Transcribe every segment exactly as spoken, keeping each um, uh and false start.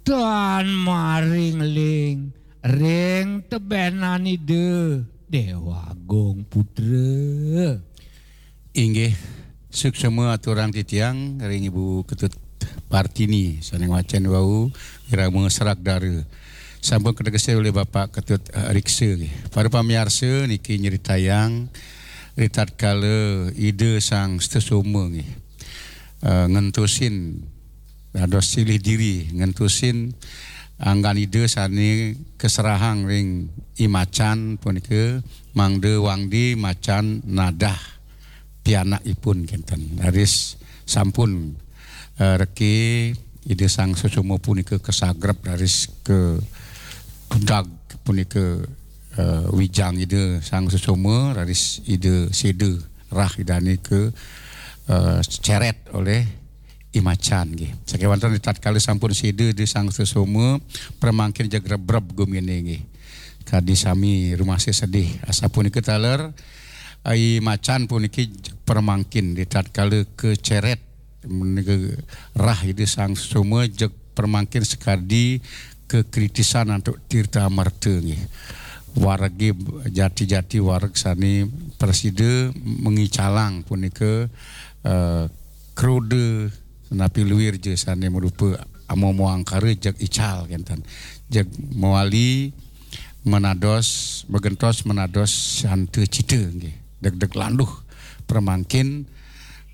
tan maring ling ring tebenan Ida Dewa Agung Putra. Inggih, suksma aturang titiang ring Ibu Ketut Partini, sané ngwacén wau, irama serak dara. Sampun kategesin olih Bapak Ketut, eh, Riksa, nggih. Para pamiarsa, niki nyritayang ritatkala Ida Sang Sutasoma, nggih, eh, ngentosin dados silih diri, ngentosin anggan Ida sané kaserahang ring I Macan punika, mangda wangdi macan nadah pianakipun kénten. Raris sampun, eh, reke Ida Sang Sutasoma punika kasagrep, raris kadag punika, eh, wijang Ida Sang Sutasoma, raris Ida séda rah Idané ka, eh, ceret olih I Macan, nggih. Sakéwanten ritatkala sampun séda Ida Sang Sutasoma, pramangkin jeg rebreb guminé, nggih. Kadi sami rumasih sedih. Asapunika taler, I Macan puniki jeg pramangkin ritatkala kaceret menika rah Ida Sang Sutasoma, jeg pramangkin sakadi kakritisan antuk tirta amerta, nggih. Waregé jati-jati wareg sané prasida mangicalang punika, eh, kroda napi luirja sané marupa amama angkara, jeg ical kénten. Jeg mawali manados, magentos manados santa cita, nggih. Degdeg landuh pramangkin,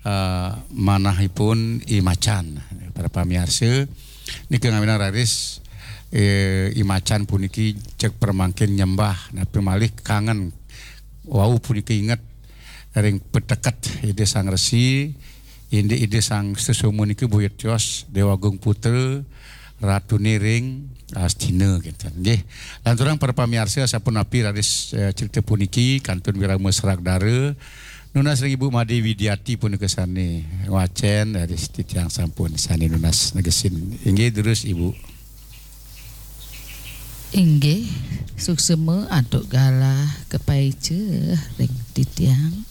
eh, manahipun I Macan. Para pamiarsa, nika ngawinang raris, eh, I Macan puniki jeg pramangkin nyembah, napi malih kangen wau punika inget ring pateket Ida Sang Resi, indik Ida Sang Sutasoma nika boya tios Dewa Agung Putra, ratuné ring Astina, kénten. Nggih. Lanturang para pamiarsa, sapunapi raris, eh, crita puniki kantun wirama serak dara, nunas ring Ibu Madé Widiati punika sané ngwacén, raris titiang sampun sané nunas negesin. Inggih, durus Ibu. Inggih, suksma antuk galah kapaica ring titiang.